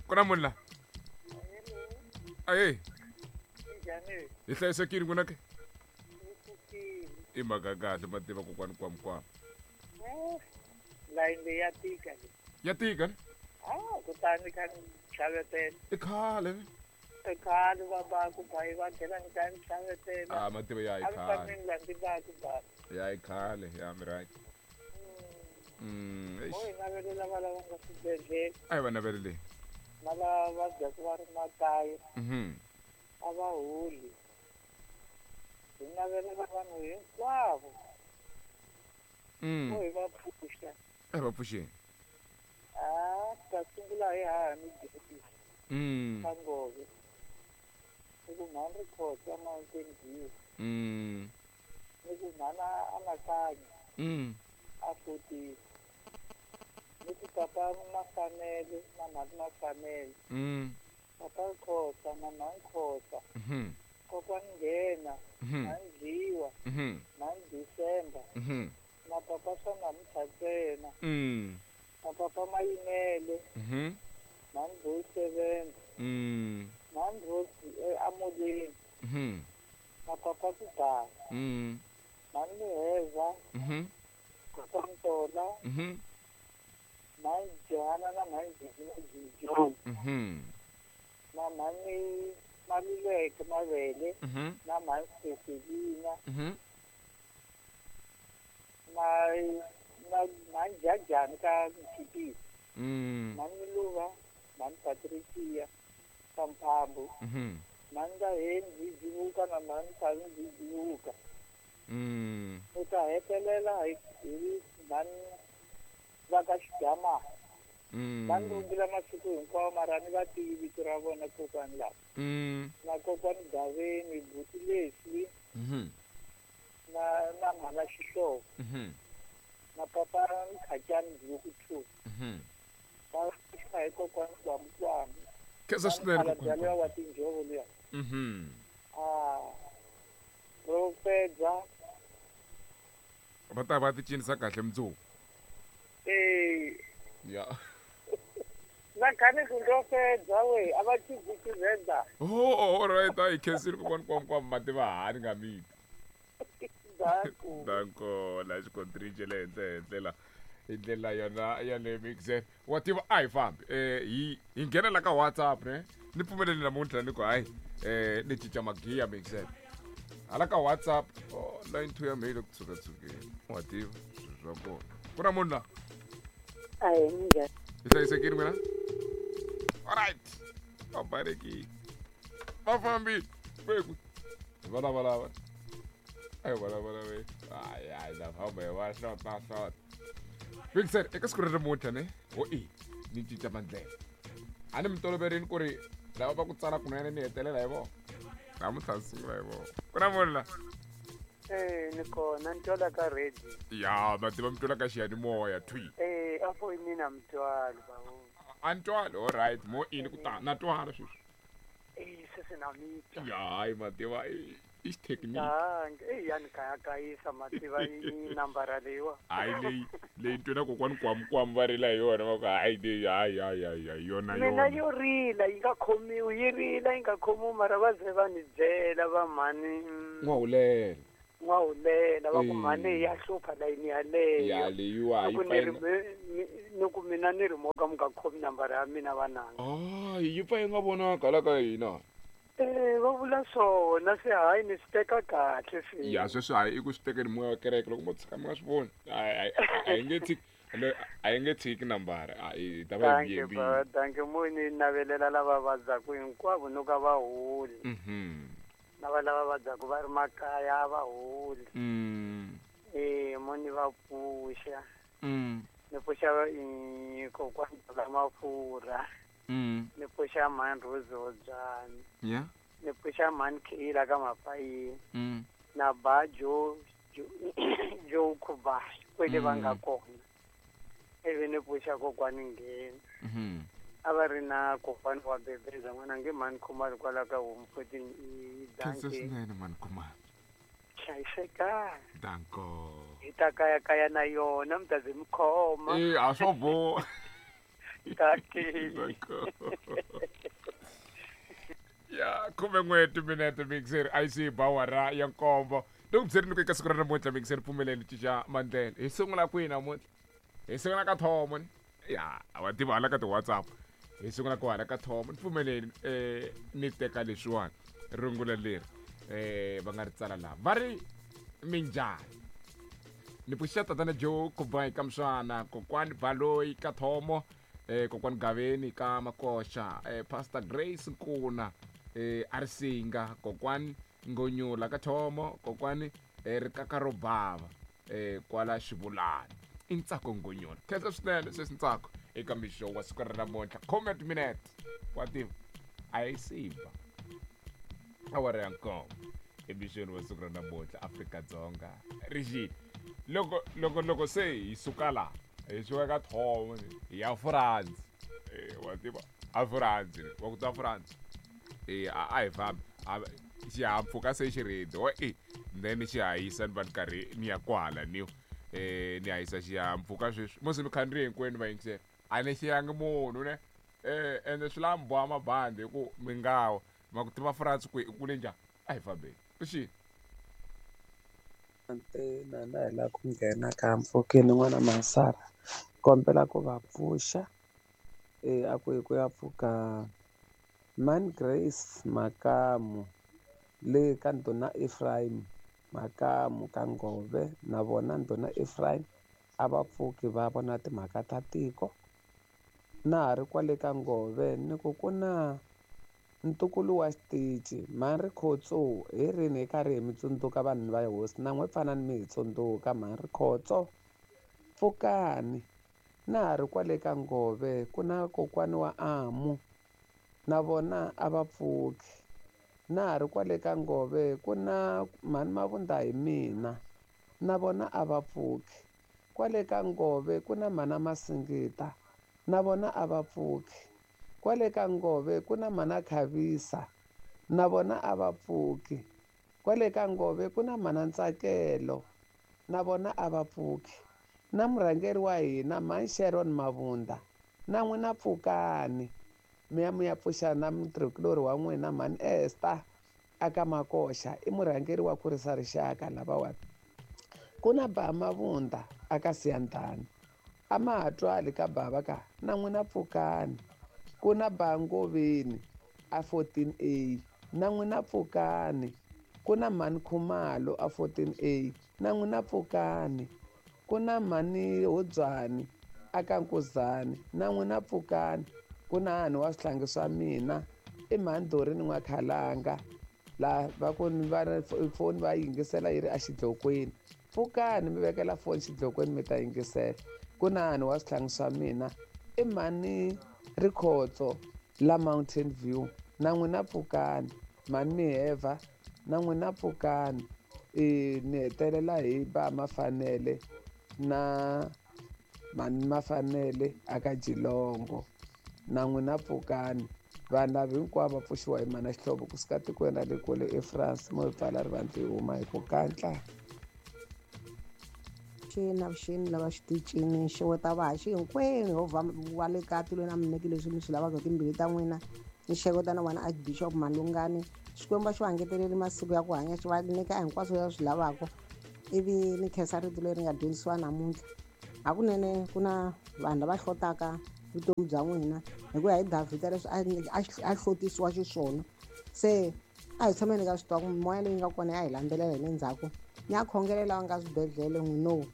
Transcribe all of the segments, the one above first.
Ku na munhu la? Ahe. Hi hlayisekile n'wina ke? I mhaka kahle mativa kokwani kwamkwama. Layini leyi ya tika leyi. Ya tika ne? Ah, kutani kha ni xavetela. I khale ne? I khale va ba ku ba va nghena ni kha ni xavetela. Ah, mativa ya i A ni khale. fanele ni landzi ba ku ba. Ya i khale, ya mi right. Mo hi navelela va lava nga swibedhlele. A hi va naveleleni. Na lava vabyaka va ri makaya. A va holi. Hi navelela vanhu hinkwavo. Mo hi va pfuxa. A hi va pfuxeni. Ah, ta sungula hi hahani Joseph. Ka Ngove. Ni ku mhani Rikhotsa Mountain View. Ni ku mhana Anakanya. A fotile. Ni ku papa Mafanele na mhani Mafanele. Papa Khosa na mhani Khosa. Kokwani Nghena, mhani Dliwa, mhani December. Na papa swa namuntlha ntsena. Na papa Mayimele. Mhani Boy Seven. Mhani Rose Amolweni. Na papa Kubhaka. Mhani Muheza. Papa Ntola. Mhani Johanna na mhani Jijo. Na mhani Maluleke Mavele. Na mhani Cecilina. Na na mhani Jajani ka Mchipisi. Mhani Luva, mhani Patricia ka Mphambu. Mhani Ndaheni Jivuka na mhani Thavi Jivuka. U ta hetelela hi mhani va ka Xigamana. Va ni rungula masiku hinkwawo mara ni va tivi vito ra vona kokwani lava. Na kokwani Gaveni, buti Leslie. Na na mhana Xihlovo. Na papa Mkhacani Buku 2. Va xa hi kokwani Kwamkwami. Khensa swinene kokwani. Luya wa tinjhovo luya. Ah. Ro fedza. Va ta va ti cinisa kahle mundzuku. Eh. Ya. Na khani ku ndo fedza we, a va cinci Tshivenda. Oh, all right, a hi khensile kokwani Kwamkwami mativa hani nga miti. Danko. Danko la xikontiri xa le henhla henhla la. Hi ndlela yona ya le mixer. Wa tiva a hi fambi. Hi nghena la ka WhatsApp ne. Ni pfumeleli namuntlha ni ku hayi ni cinca magiya mixer. Hala ka WhatsApp, oh, line 2 ya mehe yi le ku tshukatsukeni. Wa tiva swilo swa kona. Ku na munhu la? Ahee, minjhani? Hi hlayisekile n'wina? All right. Va balekile. Va fambile. Kweku. Hi va lavalava. A hi vulavula hayi hayi la famba hi va hlota hlota. Vixer eka siku ra namuntlha ne ho i ni cinca mandlela. A ni mi toloverini ku ri lava va ku tsala kunene ni hetelela hi vona. Namuntlha ni sungula hi vona. Ku na munhu la? Eh, ni kona ni twala ka radio. Ya, ma tiva mi twela ka xiyanimoya thwi. Eh, a foyinini a mi twali bawo. A ni twali, all right, mo ini ku ta na twala sweswi. Eh, sweswi na mi twa. Ya, hayi ma tiva i xithekiniki. Danke. Eh, ya ni kayakayisa ma tiva i nambara leyiwa. Hayi leyi leyi ni twela kokwani Kwamkwam va rila hi yona va ku hayi leyi hayi hayi hayi hayi yona Mina yona. yo rila yi nga khomiwi yi rila yi nga khomiwi mara va ze va ni byela va mhani. N'wahulela. N'wahulela va ku Eh. mhani ya hlupha layini yaleyo. Ya leyiwa Ni ku yi ni ri pfa yi nga ni ku mina ni ri mo ka mi nga khomi nambara ya mina vananga. Hayi yi pfa yi nga vonaka hala ka hina. Eh, va vula swona se hayi ni swi teka kahle se. Ya sweswi hayi i ku swi tekeni moya wa kereke loko mo tshika mi nga swi voni. A hi nge tshiki a hi nge tshiki nambara. A hi ta va hi Danke yembile. ba, danke mo ni navelela lava vabyaku hinkwavo no ka va holi. Na va lava vabyaku va ri makaya a va holi. Eh, mo ni va pfuxa. Ni pfuxa kokwani la mafurha. Ni pfuxa mhani Rose Hobyani. Ni pfuxa mhani Kayla ka Mapayini. Na ba Jo Jo Joe Khubayi kwele va nga kona. Ivi ni pfuxa kokwani Nghena. A va ri na kokwani wa Bebeza n'wana nge mhani Khumalo kwala ka Home 14 i Khensa danke. swinene mhani Khumalo. Hlayisekani. Danko. Hi ta kayakaya na yona mi ta ze mi khoma. Eh, a swo boha. Tsakile. Ya 11 timinete mixer ic bawara ya nkombo. Loko byeri ni ku eka siku ra namuntlha mixer pfumeleni cinca mandlela. Hi sungula kwihi namuntlha? Hi sungula ka Thomo ni? Ya, wa tiva hala ka ti-WhatsApp. Hi sungula ku hala ka Thomo. Ni pfumeleni ni teka leswiwani rungula leri va nga ri tsala laha. Va ri minjhani? Ni pfuxa tatana Joe Kubai ka Mswana, kokwani Baloyi ka Thomo, kokwani Gaveni ka Makoxa, Pastor Grace Nkuna, Arisinga, kokwani Ngonyula ka Thomo, kokwani Rikaka ro bava kwala Xivulani. I Ntsako Ngonyula. Khensa swinene sweswi Ntsako eka mixo wa siku ra namuntlha. Comment minute. Wa tiva a yi simba. Awara ya nkombo emixweni wa siku ra namuntlha Afrika-Dzonga ri xile. Loko loko loko se hi suka laha hi suka ka Thomo hi ya France. Wa tiva a France wa ku tiva France. A hi fambi xihahampfhuka se xi ready wa then xi hahisa ni va ni karhi ni ya kwala ni ni hahisa xihahampfhuka sweswi musi mi khandziye hinkwenu va yingisela a ni xiyangi munhu ne ende swi lava mi boha mabandi hi ku mi nga wa ma ku tiva France ku i kule njhani a hi fambeni xini Ntsena na hi lava ku nghena ka mpfhukeni n'wana Masara kombela ku va pfuxa a ku hi ku ya pfuka Man Grace Makamu le ka Ndhuna Ephraim Makamu ka Ngove na vona Ndhuna Ephraim a va pfuki va vona timhaka ta tiko na ha ri kwale ka Ngove ni ku ku na ntukulu wa xitichi mhani Rikhotso hi rini hi karhi hi mi tsundzuka vanhu va hosi na n'we pfanani mi hi tsundzuka mhani Rikhotso pfukani na ha ri kwale ka Ngove ku na kokwani wa Amu na vona a va pfuki na ha ri kwale ka Ngove ku na mhani Mavunda hi mina na vona a va pfuki kwale ka Ngove ku na mhana Masingita na vona a va pfuki kwale ka Ngove ku na mhana Khavisa na vona a va pfuki kwale ka Ngove ku na mhana Ntsakelo na vona a va pfuki na murhangeri wa hina mhani Sharon Mavunda na n'wina pfukani mi ya mi ya pfuxa na mutirhikulori wa n'wina mhani Esther aka Makoxa i murhangeri wa kurisa rixaka lavawani ku na Ba Mavunda aka Siyandhani a ma ha twali ka bava ka na n'wina pfukani ku na Ba Ngoveni a 14A na n'wina pfukani ku na mhani Khumalo a 14A na n'wina pfukani ku na mhani Hodzwani aka Nkuzani na n'wina pfukani ku na hani wa swihlangi swa mina i mhani Dorini N'wakhalanga la va ku va foni va yingisela yi ri exidlokweni pfukani mi vekela foni xidlokweni mi ta yingisela ku na hani wa swihlangi swa mina i mhani Rikhotso la Mountain View na n'wina pfukani mhani Miheva na n'wina pfukani ni hetelela hi ba Mafanele na mhani Mafanele aka Jilongo na n'wina pfukani vanhu lava hinkwavo va pfuxiwa hi mana Xihlovo kusuka tikweni ra le kule eFrance mo hi pfala rivanti hi huma hi ku kantla xina vuxeni lava xitichini xeweta vahaxi hinkwenu hovha wa le ka tilweni a mi nyiki leswi mi swi lavaka timbilu ta n'wina ni xeweta na vona Archbishop Malungani Xikwembu xi va ngeteleli masiku ya ku hanya xi va nyika hinkwaswo leswi swi lavaka ivi ni khensa rito leri nga dyondzisiwa namuntlha hakunene ku na vanhu lava hlotaka vutomi bya n'wina hi ku ya hi Davhida leswi a hlotisiwa xiswona se a hi tshameni ka swi tiva ku mimoya leyi nga kona ya hi landzelela hi le ndzhaku ni ya khongelela lava nga swibedhlele n'wino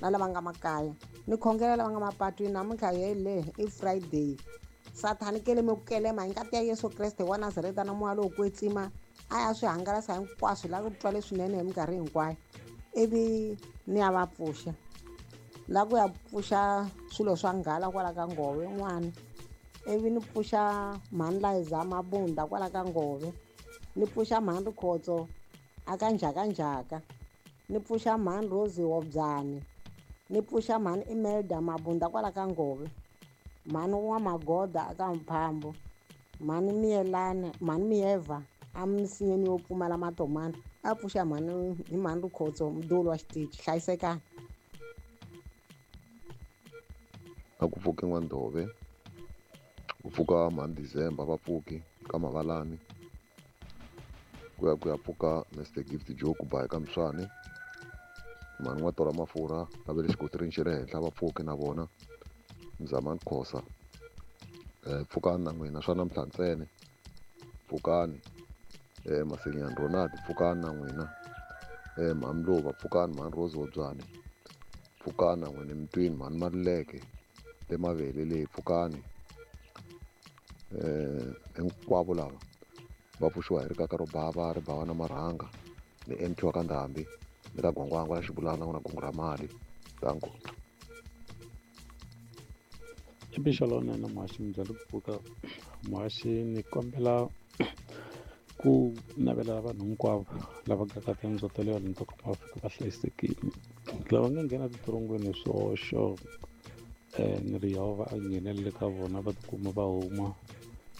na lava nga makaya ni khongelela lava nga mapatwini namuntlha yele i Friday Sathani keleme ku kelema hi ngati ya Yesu Kreste wa Nazareta na moya lowo kwetsima a ya swi hangalasa hinkwaswo la ku twa leswinene hi minkarhi hinkwayo ivi ni ya va pfuxa la ku ya pfuxa swilo swa nghala kwala ka Ngove n'wana ivi ni pfuxa mhani Liza Mabunda kwala ka Ngove ni pfuxa mhani Rikhotso aka Njhakanjhaka ni pfuxa mhani Rose Hobyani ni pfuxa mhani Imelda Mabunda kwala ka Ngove mhani wa Magoda aka Mphambo mhani Miyelana mhani Miyeva emisinyeni yo pfumala matomani a pfuxa mhani hi mhani Rikhotso muduli wa xitichi hlayisekani A ku pfuke N'wandove Ku pfuka mhani December va pfuki ka Mavalani. Ku ya ku ya pfuka Mr Gift Joe ku ba eka Mswani. Mhani N'watora Mafurha va ve le xikotirini xa le henhla va pfuki na vona. Mzamani Khosa. Pfukani na n'wina swa namuntlha ntsena. Pfukani. Masenyani Ronald pfukani na n'wina. Mhani Mlova pfukani, mhani Rose Hobyane pfukani na n'wina emitwini, mhani Maluleke le Mavele leyi pfukani. Hinkwavo lava va pfuxiwa hi rikaka ro bava ri bava na marhanga ni MT wa ka Ndhambi ni ka Gwangwangwa la Xibulana na gungu ra mali. Danko. I mixo lowunene muhaxi minjhani ku pfuka muhaxi ni kombela ku navelela vanhu hinkwavo lava nga ka tindzo ta le vanhu ta kuma va fika va hlayisekile lava nga nghena titorongweni hi swihoxo ni ri Yehovha a nghenelele ka vona va tikuma va huma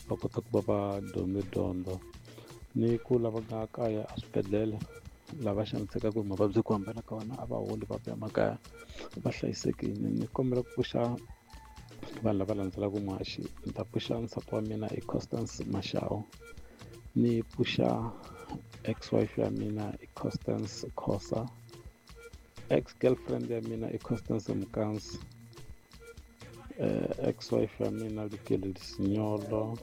va kota ku va va dyondze dyondzo ni ku lava nga kaya eswibedhlele lava xanisekaka hi mavabyi ku hambana ka vona a va holi va vuya makaya va hlayisekile. Ni kombela ku pfuxa vanhu lava landzelaka muhaxi, ni ta pfuxa nsati wa mina i Constance Mashao, ni pfuxa ex-wife ya mina i Constance Khosa, ex-girlfriend ya mina i Constance Mkansi, ex-wife ya mina Lukeli Sinyolo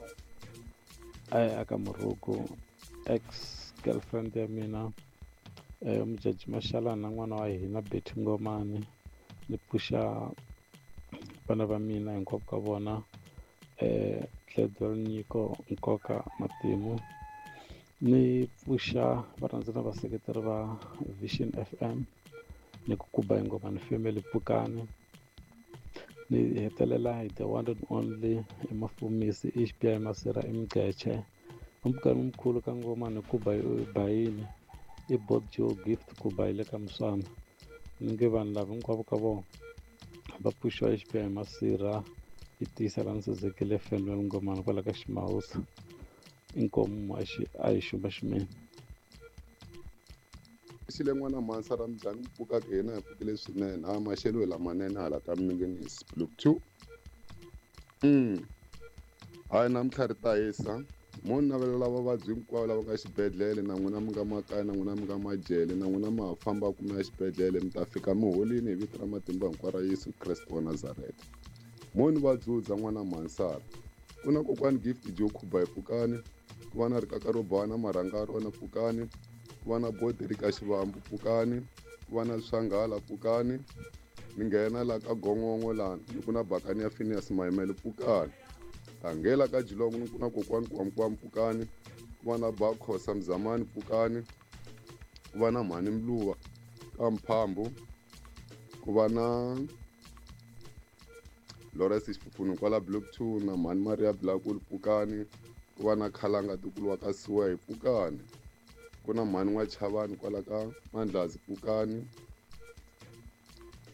aka Muruku, ex-girlfriend ya mina Mujaji Mashalana na n'wana wa hina Betty Ngomane. Ni pfuxa vana va mina hinkwavo ka vona, Gladwell Nyiko Nkoka Matimu. Ni pfuxa varhandzi na vaseketeri va Vision FM ni ku kuba Ngomane family pfukani. Ni hetelela hi the one and only emafumisi HBI Masira Mgqetshe umpfukani mkhulu ka Ngomane kuba bayini i Bob Joe Gift kuba hi le ka Muswana. Ni nge vanhu lava hinkwavo ka vona va pfuxiwa HBI Masira yi tiyisela nsizekile Fenwell Ngomane kwala ka Ximawusa. Inkomu muhaxi a hi xuma ximene. Xile n'wana mhansa ra minjhani ku pfuka ka hina hi pfukile swinene ha maxelo lamanene hala ka Minginisi Block 2. Hayi namuntlha ri ta hisa mo ni navelela vavabyi hinkwavo lava nga xibedhlele na n'wina mi nga makaya na n'wina mi nga majele na n'wina ma ha fambaka mi ya xibedhlele mi ta fika mi holini hi vito ra matimba hinkwaro ra Yesu Kreste wa Nazareta. Mo ni va dzudza n'wana mhansara ku na kokwani Gift Joe Khuba hi pfukani, ku va na rikaka ro bava na marhanga rona pfukani, ku va na bodi ri ka Xivambu pfukani, ku va na Swanghala pfukani, ni nghena la ka Gongongo lani ni ku na Bakani ya Phineas Mayimele pfukani, ta ka Jilongo ni ku na kokwani Kwamkwam pfukani, ku va na Bakhosa Mzamani pfukani, ku va na Mhani Mluva ka Mphambu, ku va na Lawrence Xifufunu kwala Block 2 na Mhani Maria Blakul pfukani, ku va na Khalanga Tukulu wa ka Siwa hi pfukani, ku na Mhani N'wachavani kwala ka Mandlazi pfukani,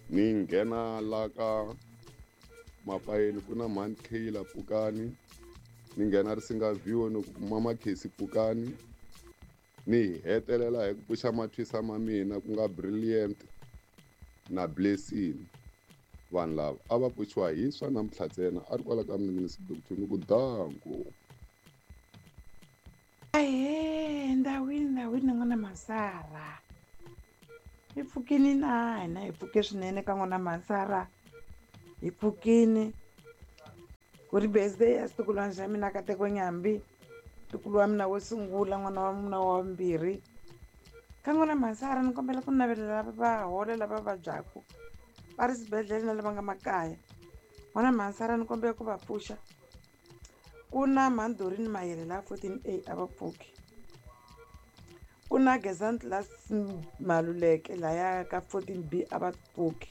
ni nghena la ka Mapayeni ku na Mhani Kayla pfukani, ni nghena Risinga View ni ku Mama Khesi pfukani, ni hetelela hi ku pfuxa mathwisa ma mina ku nga Brilliant na Blessing. Vanhu lava a va pfuxiwa hi swa namuntlha ntsena a ri kwala ka Minginisi Block 2 ni ku danko. Ahee, ndhawini ndhawini n'wana Masara hi pfukini na hina hi pfuke swinene ka n'wana Masara hi pfukini ku ri birthday ya xitukulwana xa mina Kateko Nyambi ntukulu wa mina wo sungula n'wana wa mina wa vumbirhi ka n'wana Masara ni kombela ku navelela va hola lava vabyaku va ri swibedhlele na lava nga makaya. N'wana Masara ni kombela ku va pfuxa ku na Mhandorini Mayele la 14A a va pfuki, ku na Gezant la Maluleke laya ka 14B a va pfuki,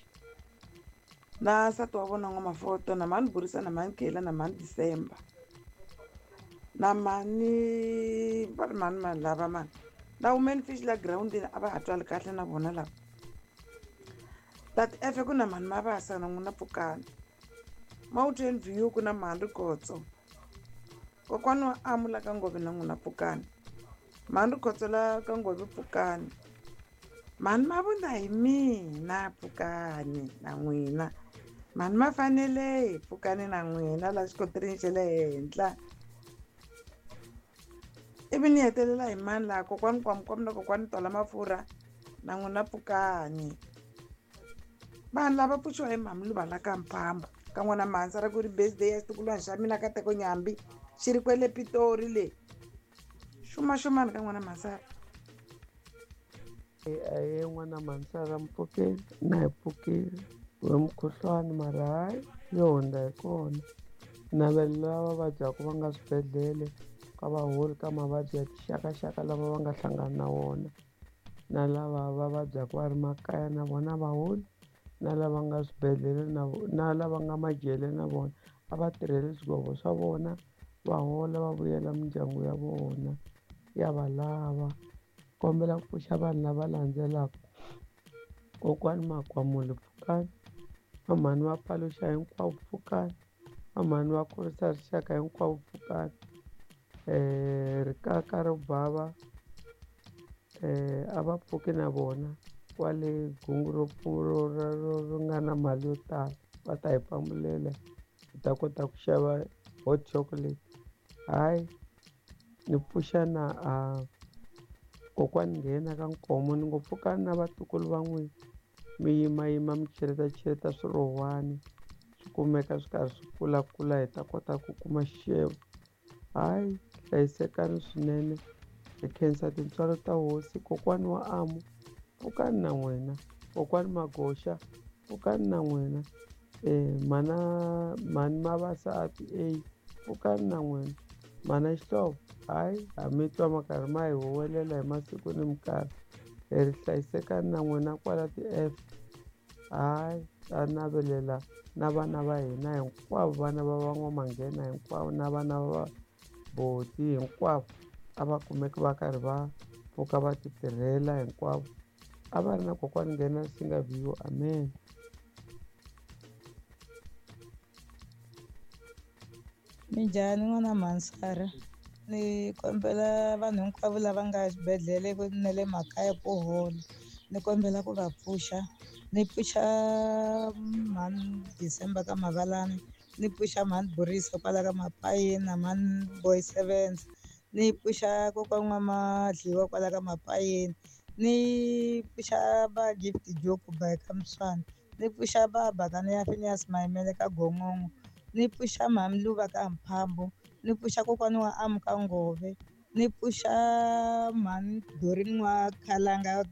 na nsati wa vona N'wamafoto na Mhani Burisa na Mhani Kela na Mhani December na mhani va ri mhani mani lava mani na Women Fish la girawundini a va ha twali kahle na vona lava tati efe ku na Mhani Mabasa na n'wina pfukani Mountain View ku na Mhani Rikotso kokwani wa Amu la ka Ngove na n'wina pfukani Mhani Rikotso la ka Ngove pfukani Mhani Mavunda hi mina pfukani na n'wina Mhani Mafanele hi pfukani na n'wina la xikotirini xa le henhla. Ivi ni hetelela hi mani laha kokwani Kwamukwamu na kokwani Tola Mafurha na n'wina pfukani. Vanhu lava pfuxiwa hi Mhamiluva la ka Mphamba ka n'wana Mhansa ra ku ri birthday ya xitukulwana xa mina Kateko Nyambi xi ri kwele Pitori le. Xumaxumani ka n'wana Mhansara. Aye n'wana Mhansara mpfukeni na hi pfukile we mukhuhlwani mara hayi yo hundza hi kona. Navela lava vabyaka va nga swibedhlele ka vaholi ka mavabyi ya tixakaxaka lava va nga hlangana na wona, na lava va vabyaka va ri makaya na vona vaholi, na lava nga swibedhlele na lava nga majele na vona a va tirheli swigwevo swa vona va hola va vuyela mindyangu ya vona ya va lava. Kombela ku pfuxa vanhu lava landzelaka: kokwani Makwamuli pfukani, vamhani va paluxa hinkwavo pfukani, vamhani va kurisa rixaka hinkwavo pfukani, rikaka ro bava a va pfuki na vona kwale gungu ro ro nga na mali yo tala va ta hi pambulela hi ta kota ku xava hot chocolate. Hayi ni pfuxa na kokwani nghena ka Nkomo ni ngo pfukani na vatukulu va n'wina mi yimayima mi cheleta swirhowani swi kumeka swi karhi swi kulakula hi ta kota ku kuma xixevo. Hayi hlayisekani swinene, hi khensa tintswalo ta hosi. Kokwani wa Amu pfukani na n'wina, kokwani Magoxa pfukani na n'wina, mana mhani Mavasa a pfukani na n'wina, mana Xihlovo hayi ha mi twa ma karhi ma hi huwelela hi masiku ni minkarhi, hi ri hlayisekani na n'wina kwala ti-F. Hayi ta navelela na vana va hina hinkwavo, vana va van'wamanghena hinkwavo na vana va boti hinkwavo a va kumeki va karhi va pfuka va ti tirhela hinkwavo. A va ri na kokwani nghena Singa View. Amen. Minjhani n'wana Mhansara? Ni kombela vanhu hinkwavo lava nga xibedhlele na le makaya ku hola, ni kombela ku va pfuxa. Ni pfuxa mhani December ka Mavalani, ni pfuxa mhani Borisa kwala ka Mapayeni na mhani Boy Sevens, ni pfuxa kokwani N'wamadliwa kwala ka Mapayeni, ni pfuxa va Gift Joku by ka Mswana, ni pfuxa va Bakani ya Phineas Mayimele ka Gongongo, ni pfuxa mhani Luva ka Mphambo, ni pfuxa kokwani wa Amu ka Ngove, ni pfuxa mhani Dorini wa Khalanga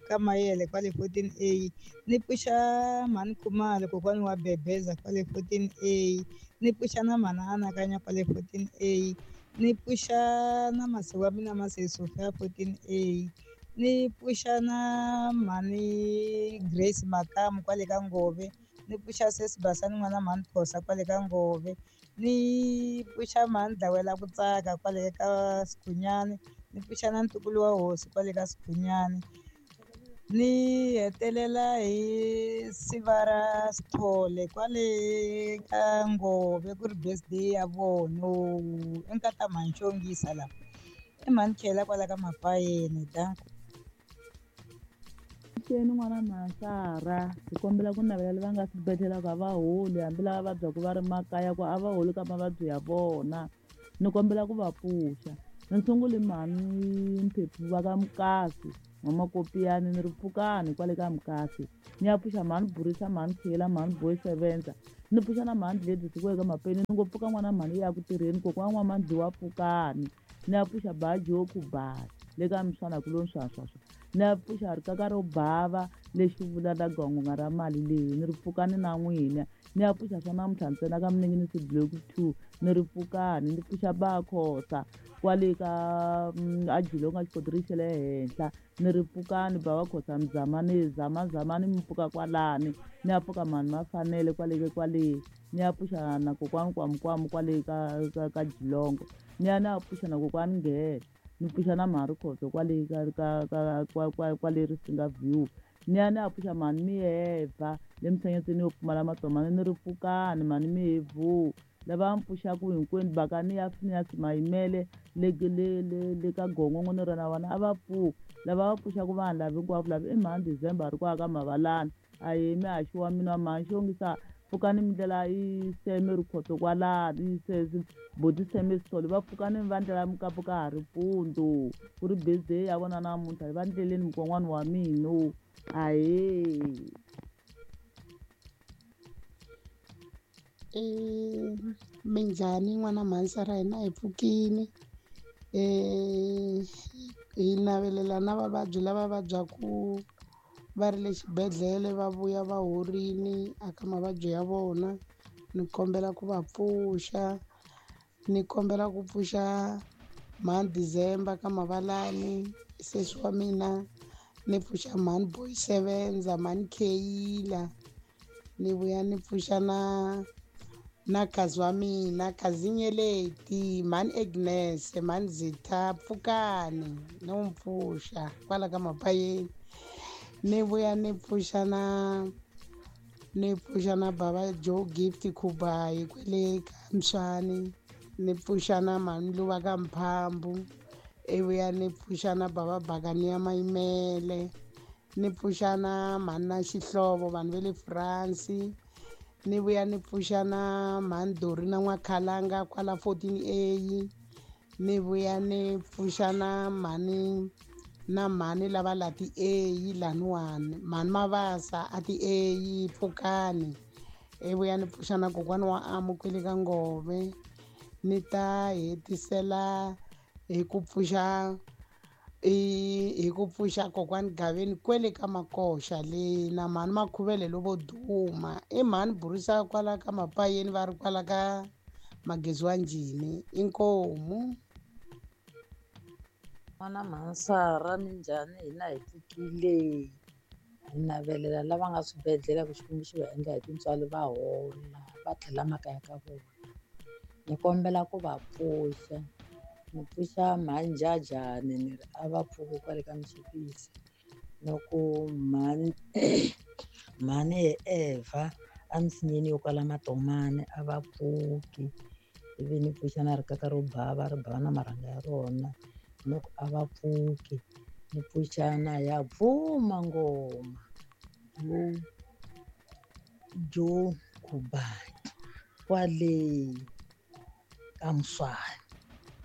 ka Mayele kwale 14A, ni pfuxa mhani Khumalo kokwani wa Bebeza kwale 14A, ni pfuxa na mhani Anakanya kwale 14A, ni pfuxa na masi wa mina Masi Sofia 14A, ni pfuxa na mhani Grace Makamu kwale ka Ngove, ni pfuxa Sesi Basani n'wana mhani Phosa kwale ka Ngove, ni pfuxa mhani Dlawela ku tsaka kwale ka Sikhunyani, ni pfuxa na ntukulu wa hosi kwale ka Sikhunyani. Ni hetelela hi siva ra Sithole kwale ka Ngove ku ri birthday ya vona i nkata mhani Xongisa laha, i mhani Khela kwala ka Mapayeni. Danko. Xeni n'wana Mhansara, hi kombela ku navela lava nga swibedhlele ku a va holi, hambi lava vabyaka va ri makaya ku a va holi ka mavabyi ya vona. Ni kombela ku va pfuxa. Ni sunguli mhani Mphephu va ka Mukasi N'wamakopiyani, ni ri pfukani kwale ka Mukasi. Ni ya pfuxa mhani Burisa, mhani Khela, mhani Boy Sevenza, ni pfuxa na mhani Gladys kwale ka Mapeni. Ni ngo pfuka n'wana mhani ya ku tirheni, kokwana N'wamadliwa pfukani. Ni ya pfuxa Bajoku Bali le ka Mswana ku lo nswanswaswa. Ni ya pfuxa rikaka ro bava lexi vulaka gongonga ra mali leyi, ni ri pfukani na n'wina. Ni ya pfuxa swa namuntlha ntsena ka Minenginisi Block 2, ni ri pfukani. Ni pfuxa Bakhosa kwale ka Ajilonga xikotirisi xa le henhla, ni ri pfukani. Bava Khosa Mzamani zamazamani mi pfuka kwalani. Ni ya pfuka mhani Mafanele kwale kwale. Ni ya pfuxa na kokwani Kwamukwamu kwale ka Jilongo. Ni ya pfuxa na kokwani Nghele, ni pfuxa na mhani Rikhoso kwale ka kwale Risinga View. Ni ya pfuxa mhani Miheva le Msenyetsini yo pfumala matomani, ni ri pfukani mhani Mihevu. Lava mi pfuxaku hinkwenu Bakani ya Phineas Mayimele le ka Gongongo ni ri na vona a va pfuki. Lava va pfuxaku vanhu lava hinkwavo lava i mhani December ri kwala ka Mavalani. Ahee mihaxi wa mina mhani Xongisa Pfukani mi ndlela i seme rikhoto kwalani boti seme sithole, va pfukani va ndlela mukapu ka ha ri mpundzu, ku ri birthday ya vona namuntlha, hi va ndleleni mukon'wana wa mina. Ahee. Minjhani n'wana mhansara, hina hi pfukini. Hi navelela na vavabyi lava vabyaku va ri le xibedhlele va vuya va horini aka mavabyi ya vona. Ni kombela ku va pfuxa, ni kombela ku pfuxa mhani December ka Mavalani, sesi wa mina, ni pfuxa mhani Boy Sevenza, mhani Kheyila, ni vuya ni pfuxa na khazi wa mina, khazi Nyeleti, mhani Agnes, mhani Zitha, pfukani ni n'wi pfuxa kwala ka Mapayeni. Ni vuya ni pfuxa na bava Joe Gift Khubayi kwele ka Mswani, ni pfuxa na mhani Luva ka Mphambu, ivuya ni pfuxa na bava Bakani ya Mayimele, ni pfuxa na mhani na Xihlovo vanhu va le France, ni vuya ni pfuxa na mhani Dori na N'wakhalanga kwala 14A, ni vuya ni pfuxa na mhani na mhani lava la ti A laniwani, mhani Mavasa a ti A pfukani, ivuya ni pfuxa na kokwana wa Amu kwele ka Ngove. Ni ta hetisela hi ku pfuxa kokwani Gaveni kwele ka Makoxa le na mhani Makhuvele lovo duma, i mhani Burisa kwala ka Mapayeni va ri kwala ka Magezi wa Njhini. Inkomu. N'wana mhansara, minjhani? Hina hi pfukile. Hi navelela lava nga swibedhlele ku Xikwembu xi va endla hi tintswalo va hola va tlhela makaya ka vona. Ni kombela ku va pfuxa, ni pfuxa mhani Jajani ni ri a va pfuki kwale ka Mchipisi, ni ku mhani Evha emisinyeni yo kwala Matomani a va pfuki, ivi ni pfuxa na rikaka ro bava ri bava na marhanga ya rona, ni ku a va pfuki. Ni pfuxa na ya bvuma ngoma jo Khubayi kwale ka Mswani,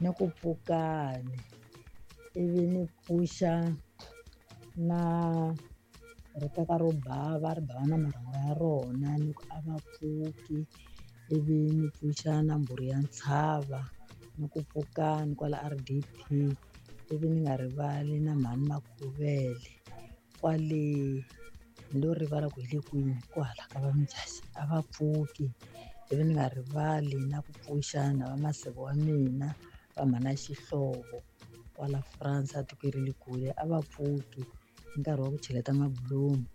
ni ku pfukani. Ivi ni pfuxa na rikaka ro bava ri bava na marhanga ya rona, ni ku a va pfuki. Ivi ni pfuxa na mbhuri ya ntshava, ni ku pfukani kwala RDP. Ivi ni nga rivali na mhani Makhuvele kwale, ni lo rivala ku hi le kwini kwahala ka va Mujasi, a va pfuki. Ivi ni nga rivali na ku pfuxa na va maseve wa mina va mhana Xihlovo kwala France a tikweni ra le kule, a va pfuki hi nkarhi wa ku cheleta mabulomu.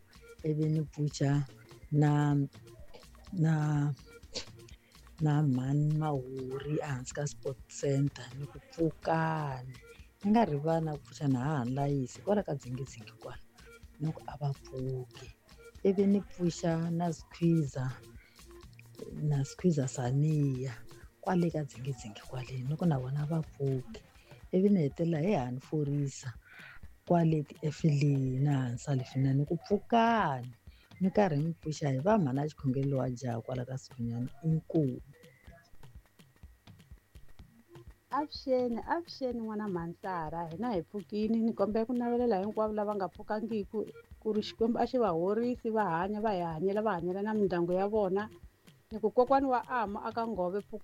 Ivi ni pfuxa na mhani Mahuri ehansi ka Sport Center, ni ku pfukani. Ni nga rivali na ku pfuxa na hahani Layisi kwala ka Dzingidzingi kwala, ni ku a va pfuki. Ivi ni pfuxa na Squeezer Saniya kwale ka Dzingidzingi kwale, ni ku na vona va pfuki. Ivi ni hetelela hi hani Forisa kwale tiefilini hansi Salifina, ni ku pfukani. Ni karhi ni pfuxa hi va mhana Xikhongelo wa jaha kwala ka Sikhunyani. Inkomu. Avuxeni, avuxeni n'wana mhansara, hina hi pfukini. Ni kombela ku navelela hinkwavo lava nga pfukangiki ku ri Xikwembu a xi va horisi va hanya, va hi hanyela, va hanyela na mindyangu ya vona. Ni ku kokwani wa Amu aka Ngove.